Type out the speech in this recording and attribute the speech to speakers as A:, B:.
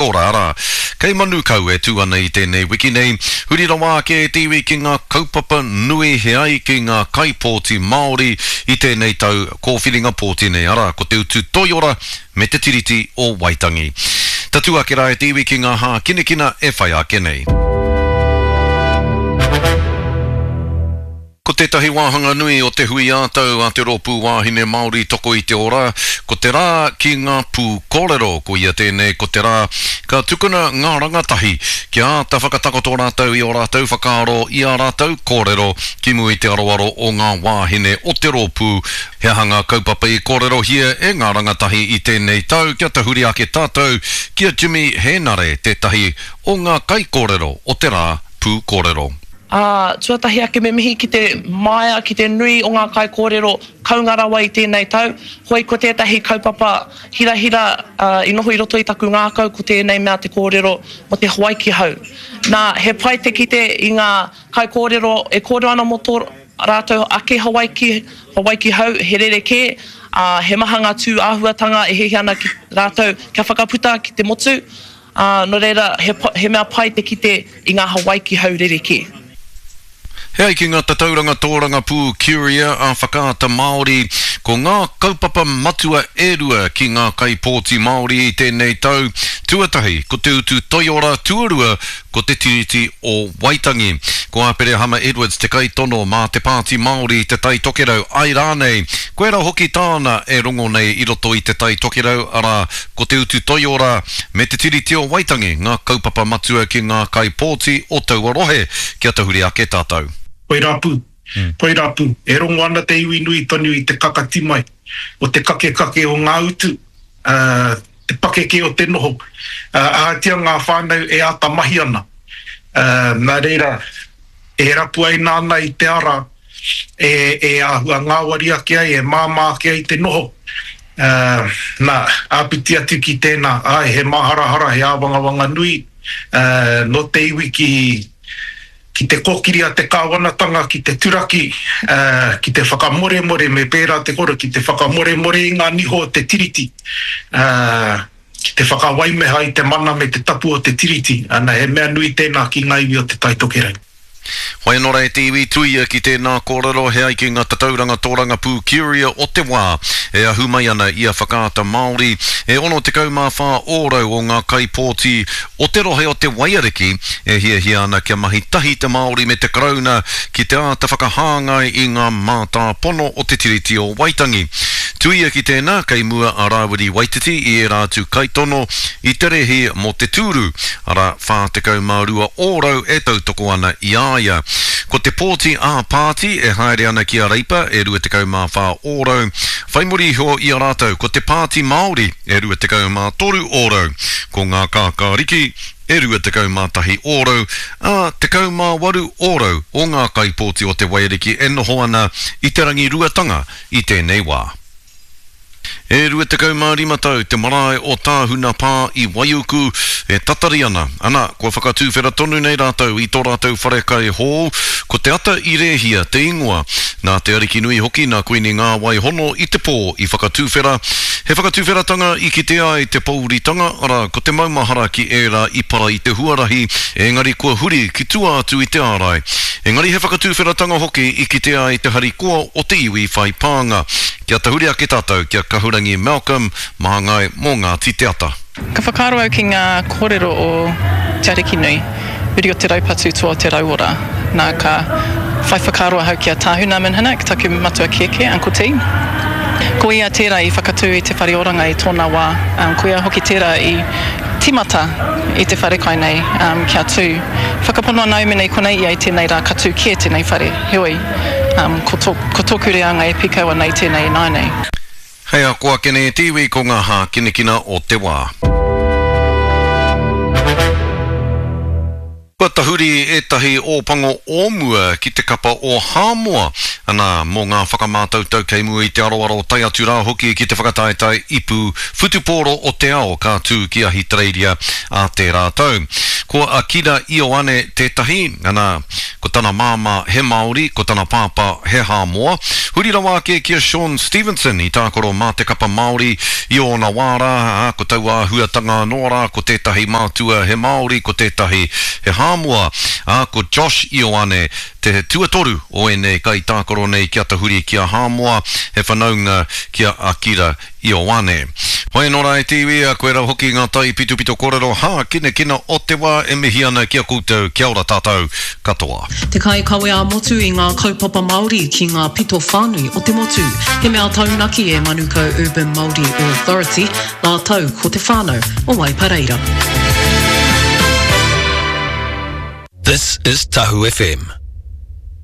A: Ora, arā, kei Manukau e tū ana i tēnei wiki nei, huri rawa ake e te iwi ki ngā kaupapa nui he ai ki ngā kaipōti Māori i tēnei tau kōwhiringa pōti nei, arā, ko te utu toiora me te Tiriti o Waitangi. Tatū ake rā e te iwi ki ngā hākinakina e whai ake nei. Ko tētahi wāhanga nui o te hui ā-tau a te Rōpū Wāhine Māori Toko i te Ora, ko te rā ki ngā pū kōrero. Koia tēnei ko te rā ka tukuna ngā rangatahi kia āta whakatakoto rātou i ō rātou whakaaro, i ā rātou kōrero ki mua i te aroaro o ngā wāhine o te rōpū. He aha ngā kaupapa i kōrerohia e ngā rangatahi i tēnei tau kia tahuri ake tātou ki a Jimmy Hēnare, tētahi o ngā kaikōrero o te rā pū kōrero.
B: Ā, tuatahi ake me mihi ki te māia, ki te nui o ngā kaikōrero kounga rawa i tēnei tau. Hoi ko tētahi kaupapa hirahira i noho i roto i taku ngākau ko tēnei mea te kōrero mō te Hawaiki hou. Nā, he pai te kite i ngā kaikōrero e kōrero ana mō tō rātou ake Hawaiki, Hawaiki hou, he rerekē, ā, he maha ngā tū āhuatanga e hiahia ana ki rātou kia whakaputa ki te motu. Ā, nō reira, he, he mea pai te kite i ngā Hawaiki hau rerekē.
A: He ai ki ngā tatauranga tōrangapū Curia a Whakaata Māori, ko ngā kaupapa matua e rua ki ngā kaipōti Māori i tēnei tau, tuatahi ko te utu toiora, tuarua ko te Tiriti o Waitangi. Ko Aperehama Edwards te kaitono mā te Pāti Māori i Te Tai Tokerau, ai rānei, koirā hoki tāna e rongo nei i roto i Te Tai Tokerau, arā, Ko te utu toiora me te Tiriti o Waitangi ngā kaupapa matua ki ngā kaipōti o taua rohe. Kia tahuri ake tātou.
C: Koirā pū, koirā pū, e rongo ana te iwi nui tonu i te kakati mai o te kakekake o ngā utu, te pakeke o te noho, ahatia ngā whānau e āta mahi ana. Nā reira, e rapuaina ana i te ara e āhua ngāwari ake ai, e māmā ake ai te noho. Nā, āpiti atu ki tēnā, āe, he māharahara, he āwangawanga nui nō te iwi ki, ki te kōkiri a te kāwanatanga, ki te turaki, ki te whakamoremore, me pērā te koro, ki te whakamoremore i ngā niho o te Tiriti, ki te whakawaimeha i te mana me te tapu o te Tiriti, ana, he mea nui tēnā ki ngā iwi o Te Tai Tokerau.
A: Whai anō rā e te iwi tuia ki tēnā kōrero he ai ki ngā tatauranga tōrangapū Curia o te wā e ahu mai ana i a Whakaata Māori, e 64 ōrau o ngā kaipōti o te rohe o Te Waiariki e hiahia ana kia mahi tahi te Māori me te Karauna ki te āta whakahāngai i ngā mātāpono o te Tiriti o Waitangi. Tuia ki tēnā, kei mua a Rāwiri Waititi i ērā atu kaitono i te rēhi mō te tūru, arā, 42 ōrau e tautoko ana i a ia. Ko te pōti ā-pāti e haere ana ki a Reipa e 24 ōrau, whai muri iho i a rātou ko te Pāti Māori e 23 ōrau, ko Ngā Kākāriki e 21 ōrau, ā, 18 ōrau o ngā kaipōti o Te Waiariki e noho ana i te rangiruatanga i tēnei wā. E 25 tau te marae o Tāhuna Pā i Waiuku e tatari ana, ana, kua whakatūwhera tonu nei rātou i tō rātou wharekai hou, ko Te Ata i Rēhia te ingoa. Nā Te Arikinui hoki, nā Kuini Ngāwai Hono i te pō i whakatūwhera. He whakatūwheratanga i kitea ai te pōuritanga, arā, ko te maumahara ki ērā i para i te huarahi, engari kua huri ki tua atu i te ārai. Engari he whakatūwheratanga hoki i kitea ai te harikoa o te iwi whai pānga. Kia tahuri ake tātou ki a Kahurangi Malcolm, māngai mō Ngāti Te Ata.
D: Ka whakaaro au ki ngā kōrero o Te Arikinui, uri o te raupatu toa o te rauora. Nā, ka whai whakaaro ahau ki a Tāhuna Minhinnick, taku matua kēkē, Uncle T. Ko ia tērā i whakatū i te whare oranga i tōna wā. Ko ia hoki tērā i tīmata i te wharekai nei kia tū. Whakapono ana au mēnā i konei ia i tēnei rā ka tū kē tēnei whare. Heoi. Ko tō, ko tōku reanga e pīkau ana i tēnei ināianei.
A: Hei ako ake nei e te iwi ko ngā hākinakina o te wā. Kua tahuri ētahi Ōpango o mua ki te kapa o Hāmoa, anā, mō ngā whakamātautau kei mua i te aroaro tae atu rā hoki ki te whakataetae ipu whutupōro o te ao ka tū ki Ahitereiria ā tērā tau. Ko Akira Ioane tētahi, anā, Ko tana māmā he Māori, ko tana pāpā he Hāmoa. Huri rawa ake ki a Shaun Stevenson i tākaro mā te kapa Māori i ōna wā rā, ā, ko taua āhuatanga anō rā, ko tētahi mātua he Māori, ko tētahi he Hāmoa, ā, ko Josh Ioane te tuatoru o ēnei kaitākaro nei kia tahuri ki a Hāmoa, he whanaunga ki a Akira Ioane. Hoi anō rā e te iwi, a koe rā hoki ngā tai pitopito kōrero hākinakina o te wā e mihi ana ki a koutou, kia ora tātou katoa.
E: Te kaikawe ā-motu i ngā kaupapa Māori ki ngā pito whānui o te motu. He mea taunaki e Manukau Urban Māori Authority rātou ko te whānau o Waipareira.
F: This is Tahu FM.